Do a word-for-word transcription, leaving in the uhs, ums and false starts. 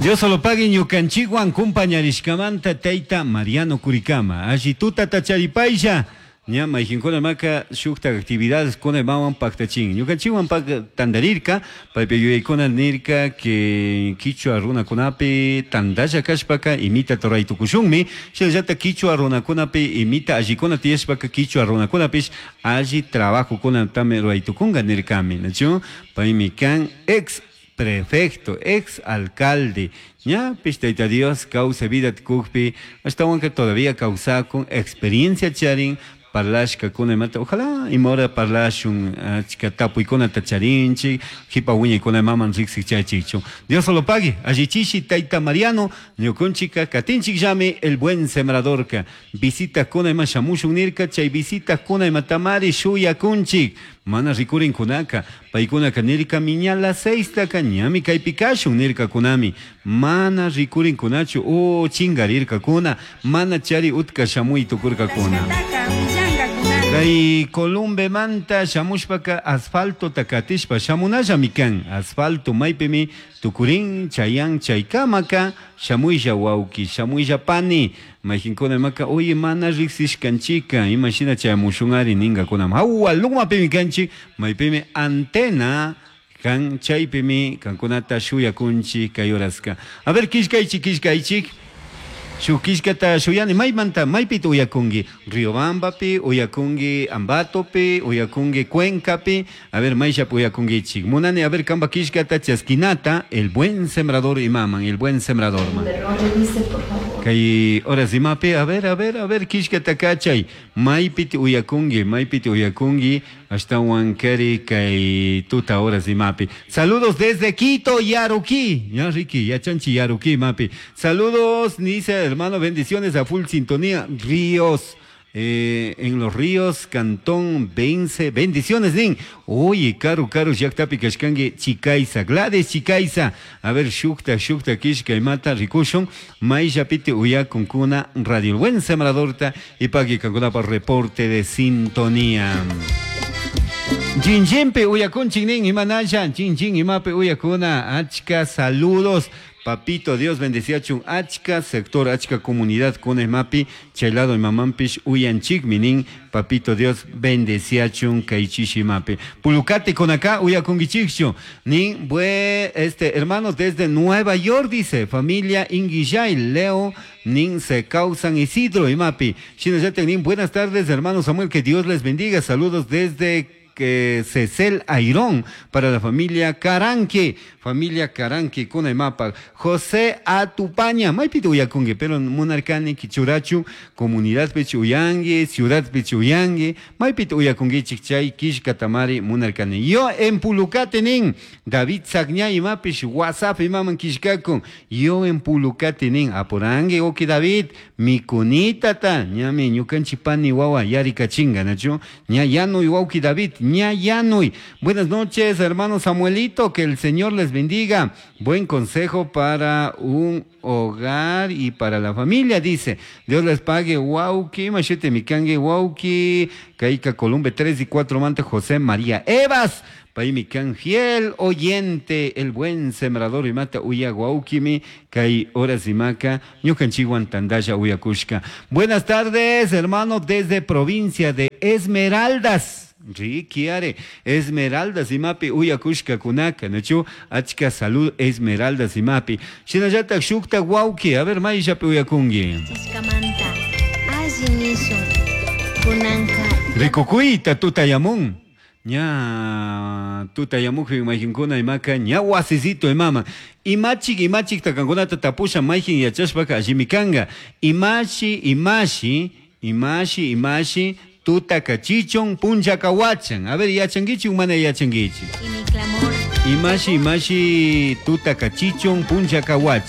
Dios solo pague ñukanchikwan kumpañarishkamanta tayta Mariano Curicama. Alli tutata charipaylla. Ña mayqinkuna maka shukta actividades kuna imawan paktachin. Ñukanchikwan pak tantarirka, paypi yuyaykuna nirka que kichwa runakunapi tantalla kashpaka imita ruray tukushunmi. Shinallata kichwa runakunapi imita allikuna tiyashpaka kichwa runakunapish alli trabajokunatami ruray tukunka nirkami. Nachu? Paymi kan ex prefecto, ex alcalde, ñapish Tayta Dios kawsay vida tukukpi ashtawanka todavía kawsakun experiencia charin parlashkakuna imata ojalá ima hora parlashun achka tapuykunata charinchik qipa wiñaykuna imaman riksik chaychikchu. Dios solo pague allichishi tayta Mariano ñukunchikka katinchikllami el buen sembradorka visitakuna ima shamushun nirka chay visitakuna imatamari shuyakunchik mana rikurinkunaka paykunaka nirkami ña las seistaka ñami kaypi kashun nirkakunami mana rikurinkunachu o chingarirkakuna mana chari utka shamuy tukurkakuna. Kay Columbemanta shamushpaka asfaltota katishpa shamunallami kan asfalto maypimi tukurin chayan chaykamaka shamuylla wawki shamuylla pani mayqinkuna imaka oye mana riksishkanchika imashina chayamushunari ninkakunam hawa lumapimi kanchik maypimi antena kan chaypimi kankunata shuyakunchik kay horaska. A ver killkaychik killkaychik. Shuk killkata shuyani maymanta maypita uyakunki Riobambapi uyakunki Ambatopi uyakunki Cuencapi a ver mayllapi uyakunkichik munani a ver kanpa killkata chaskinata el buen sembrador imaman el buen sembrador man. Revise, por favor. Kay horas imapi a ver a ver a ver killkata kachay maypiti uyakunki maypiti uyakunki ashtawan kari kay tuta horas imapi. Saludos desde Quito, Yaruquí. Ya Ricky, yachanchi Yaruquí mapi. Saludos, dice hermano, bendiciones a full sintonía, Ríos. Eh, en los ríos, Cantón Vence, bendiciones, nin. Oye, karu, karu, llaktapi kashkanki, Chicaiza, Gladys Chicaiza. A ver, shukta, shukta, kishka, imata, rikushun, mayllapiti uyakunkuna, Radio El Buen Sembradorta, y pagui kankunapa reporte de sintonía. Chinchimpi uyakunchik nin, imanalla, chinchin imapi uyakuna, achka, saludos. Papito Dios bendeciachun achka sector, achka comunidad con mapi, chaylado y mamampish uyanchik minin, papito Dios bendeciachun kaichishi mapi. Pulucate con acá uyakungichikchu, nin bue, este hermano desde Nueva York dice, familia Inguillay, Leo, nin se causan Isidro y mapi. Shinayate nin, buenas tardes hermano Samuel, que Dios les bendiga, saludos desde que Cecel Airón para la familia Caranque, familia Caranque con el mapa. José Atupaña, maypita uyakunki, pero munarkani kichurachu, comunidad pichuyangue, ciudad pichuyangue, maypita uyakunkichik chay kishkatamari munarkani. Yo en Pulucate nin, David Sagña imapish, WhatsApp imaman kishkakun, yo en Pulucate nin, apurangue oki David, mikunitata, ñami ñukanchi pani wawa yarikachinga, nachu, ña yanuy wauki David, ña yanuy. Buenas noches, hermano Samuelito, que el Señor les bendiga. Buen consejo para un hogar y para la familia, dice. Dios les pague, wauki, machete mikangue, wauki, Caica Columbe tres y cuatro mante José María Evas. Paymi kan fiel oyente, el buen sembrador y mata uya guauquimi, kay horas y maca, ñukanchikwan tandalla uyakushka. Buenas tardes, hermano, desde provincia de Esmeraldas. Rikiare, Esmeraldas imapi uyakushka kunaka, nachu, achka salud Esmeraldas imapi. Shinallata shukta guauki, a ver, mayllapi uyakunki. Chiskamanta, alli nishun, kunanka. Rikukuyta tutayamun. Ña tutayamuqpi mayqinkuna imaka ña wasisito imama. Imachik imachik takankunata tapusha mayqin yachashpaka allimi kanka. Imashi imashi imashi imashi tutakachichun punchakawachan. A ver, yachankichik mana yachankichik. Y mi clamor. Imashi imashi tutakachichun punchakawachan.